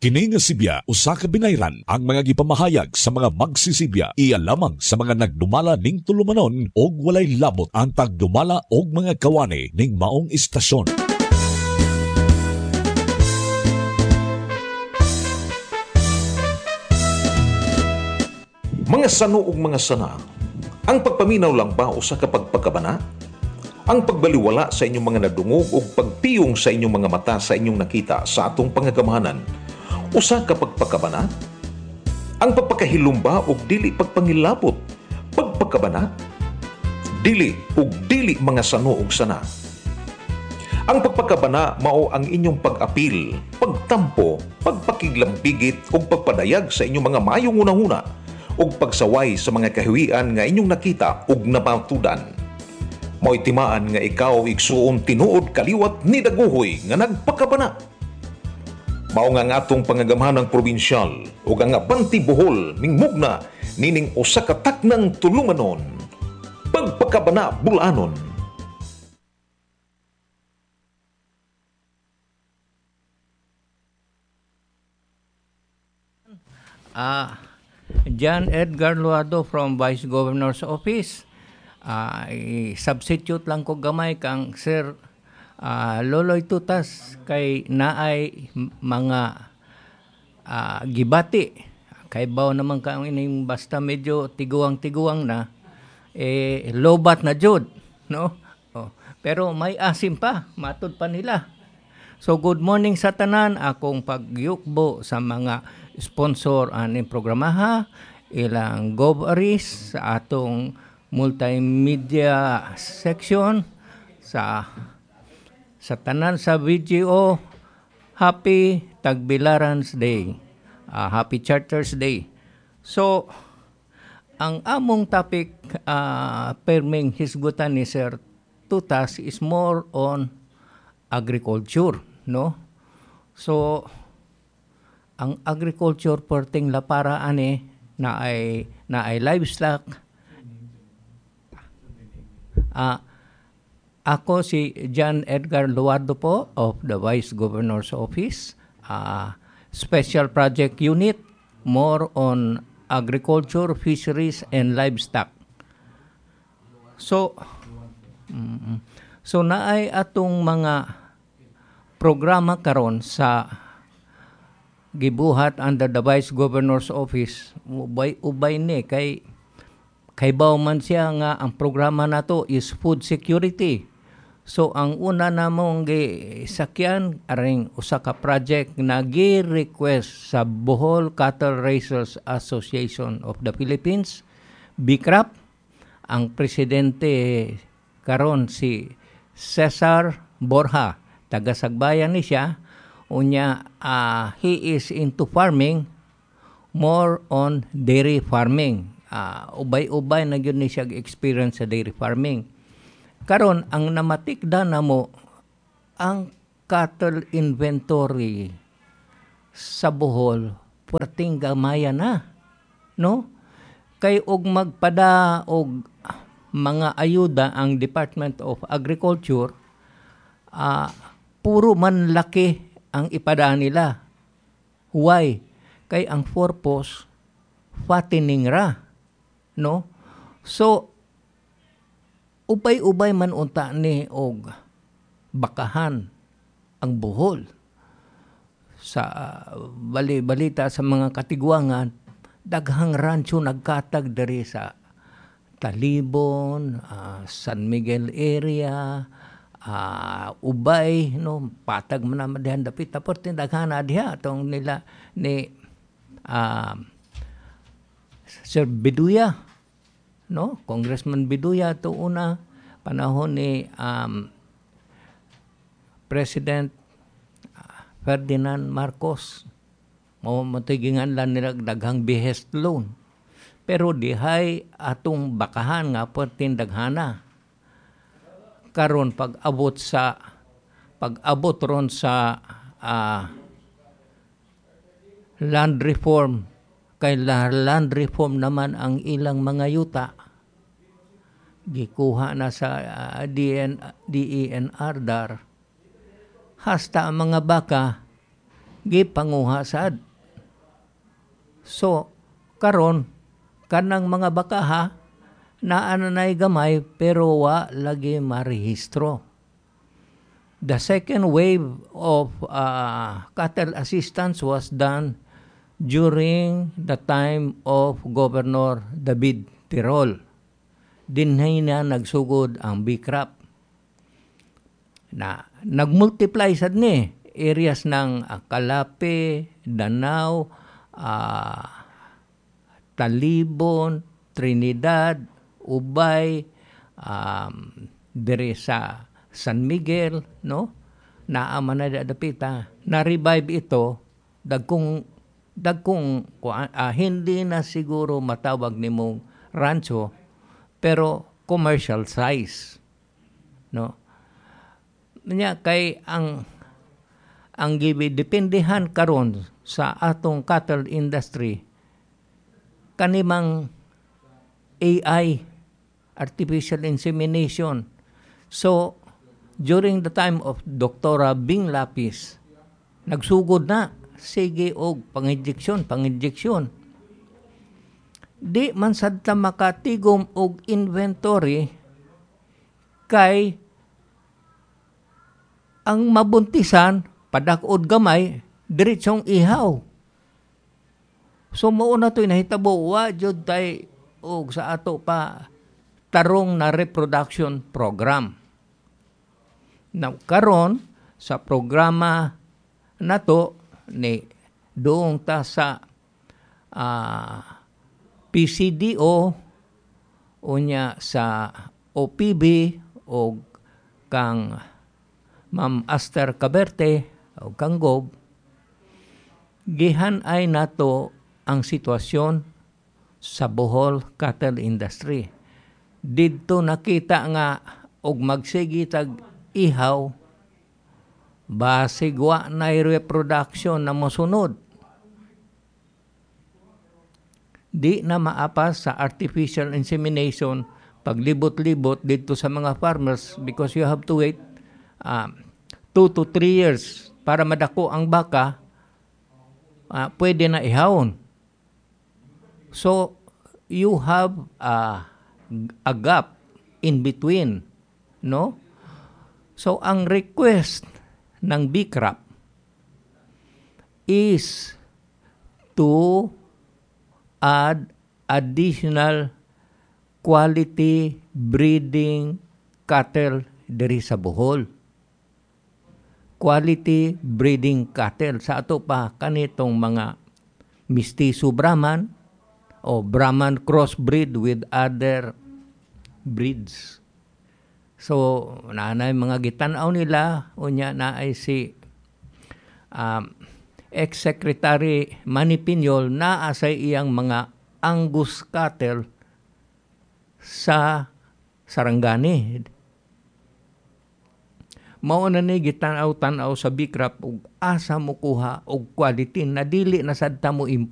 Kini nga sibya usa ka binayran. Ang mga gipamahayag sa mga magsisibya iya lamang sa mga nagdumala ning tulumanon og walay labot ang tagdumala og mga kawani ning maong istasyon. Mga sano ug mga sana, ang pagpaminaw lang ba usa ka pagpakabana? Ang pagbaliwala sa inyong mga nadungog ug pagpiyong sa inyong mga mata sa inyong nakita sa atong pangagamahanan, usa ka pagpakabana? Ang pagpakahilumba ug dili pagpangilabot, pagpakabana? Dili ug dili, mga sano ug sana. Ang pagpakabana mao ang inyong pag-apil, pagtampo, pagpakiglambigit ug pagpadayag sa inyong mga maayong hunahuna ug pagsaway sa mga kahiwian nga inyong nakita ug namatudan. Mao'y timaan nga ikaw, igsuon, tinuod kaliwat ni Dagohoy nga nagpakabana. Mao nga ang atong pangagamhanang probinsyal ug ang Abante Bohol mingmugna nining usa ka taknang tulumanon. Pagpakabana Bulanon. John Edgar Luado from Vice Governor's Office. I-substitute lang ko gamay kang Sir Loloy Tutas kay naay mga gibati. Kay baw naman ka ining basta medyo tiguang-tiguang na eh lobat na jud, no? Oh, pero may asim pa, matud pa nila. So good morning sa tanan, akong pagyukbo sa mga sponsor aning programaha, ilang GovAris sa atong multimedia section, sa tanan sa VGO, Happy Tagbilaran's Day. Happy Charters Day. So ang among topic perming hisgutan ni Sir Tutas is more on agriculture, no? So ang agriculture perting lapara ani na ay livestock. Ako si John Edgar Luardo po of the Vice Governor's Office, Special Project Unit, more on agriculture, fisheries, and livestock. So naay atong mga programa karon sa gibuhat under the Vice Governor's Office. Ubay-ubay ni kay kaybaw man siya nga ang programa nato is food security. So ang una namong gisakyan aring usa ka project na gi-request sa Bohol Cattle Raisers Association of the Philippines, BICRAP. Ang presidente karon si Cesar Borja, taga Sagbayan ni siya. Unya he is into farming, more on dairy farming. Ubay-ubay na gyud ni siya experience sa dairy farming. Karon ang namatikda namo ang cattle inventory sa Bohol perting gamaya na, no? Kay og magpada og mga ayuda ang Department of Agriculture, puro man laki ang ipada nila. Why? Kay ang purpose fattening ra, no? So ubay-ubay man unta ni og bakahan ang Bohol. Sa bali-balita sa mga katiguangan, daghang rancho nagkatag diri sa Talibon, San Miguel area, Ubay, no, patag man naman dihan dapit tapos daghan na diha atong nila ni Sir Biduya, no, Congressman Biduya to una panahon ni President Ferdinand Marcos. Mao matigingan lang nila daghang behest loan. Pero dihay atong bakahan nga perting daghana. Karon pag-abot ron sa land reform, kay land reform naman ang ilang mga yuta gikuha na sa DENR dar. Hasta ang mga baka Gipanguha sad. So karon, kanang mga bakaha naa na nay gamay, pero wa lagi marehistro. The second wave of cattle assistance was done during the time of Governor David Tirol. Dinhi na nagsugod ang BICRAP. Na nagmultiply sad ni areas ng Calape, Danao, Talibon, Trinidad, Ubay, dire sa San Miguel, no? Naa man na dapita. Na-revive ito, dagkong dagkong hindi na siguro matawag nimong rancho, pero commercial size, no? Nya kay ang gidependehan karon sa atong cattle industry kanimang AI, artificial insemination. So during the time of Dr. Bing Lapis, nagsugod na sige og panginjeksyon, panginjeksyon. Di man sad ta makatigom og inventory kay ang mabuntisan, padak-od gamay, diretsong ihaw. So mao na to'y nahitabo, wa jud tay og sa ato pa tarong na reproduction program. Now, karon sa programa nato ni doong ta sa PCDO, unya sa OPB o kang Ma'am Aster Caberte o kang Gob, gihan ay nato ang sitwasyon sa Bohol cattle industry. Didto nakita nga og magsige tag ihaw, basig wa na reproduction na mosunod. Di na maapas sa artificial insemination paglibot-libot dito sa mga farmers because you have to wait 2 to 3 years para madako ang baka, pwede na ihawon. So, you have a gap in between, no? So, ang request ng BICRAP is to add additional quality breeding cattle diri sa Bohol. Quality breeding cattle sa ato pa kanitong mga mistiso Brahman o Brahman crossbreed with other breeds. So, naanay mga gitan-aw nila, unya naay si ex-secretary Manny Piñol, naa sa iyang mga Angus cattle sa Sarangani. Mao na ni gitan-aw-tan-aw sa BICRAP ug asa mo kuha og quality na dili na sad ta mo import.